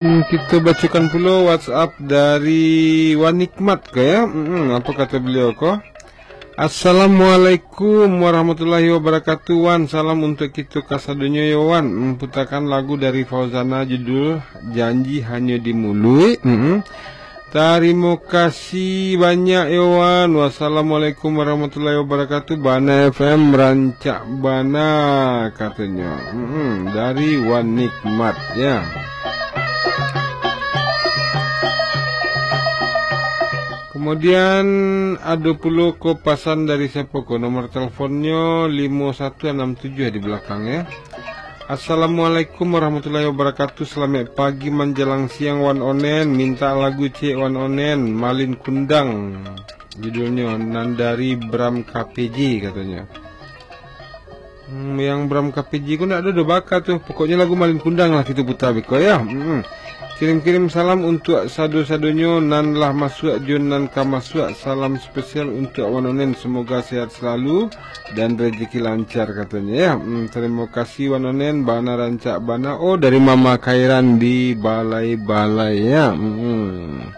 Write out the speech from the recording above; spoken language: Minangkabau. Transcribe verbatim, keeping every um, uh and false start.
Hmm, kita bacakan pula WhatsApp dari Wan Nikmat ko, ya. Hmm, apa kata beliau ko? "Assalamualaikum warahmatullahi wabarakatuh, Wan. Salam untuk kita kasadonyo, yo, Wan. Memputakan lagu dari Fauzana, judul Janji Hanyo di Muluik." Hmm. Tarimo kasih banyak, yo, Wan. "Wassalamualaikum warahmatullahi wabarakatuh. Bana F M rancak bana," katonyo. Hmm, dari Wan Nikmat, ya. Kemudian, ado pulo ko pasan dari siapa ko? Nomor teleponnyo limo satu anam tujuh di belakang, ya. "Assalamualaikum warahmatullahi wabarakatuh. Salamaik pagi manjalang siang, Wan Onen. Minta lagu ciek, Wan Onen. Malin Kundang judulnyo, nan dari Bram K P J," katonyo. Hmm, yang Bram K P J ko ndak ado do baka tu. Pokoknyo lagu Malin Kundang lah kita puta beko, ya. Hmm. "Kirim-kirim salam untuk sado-sadonyo nan lah masuak jo nan ka masuak. Salam spesial untuk Wan Onen. Semoga sehat selalu dan rezeki lancar," katonyo, ya. Hmm, tarimo kasih, Wan Onen. Bana rancak bana. Oh, dari Mama Khairan di Balai-Balai, ya. Hmm.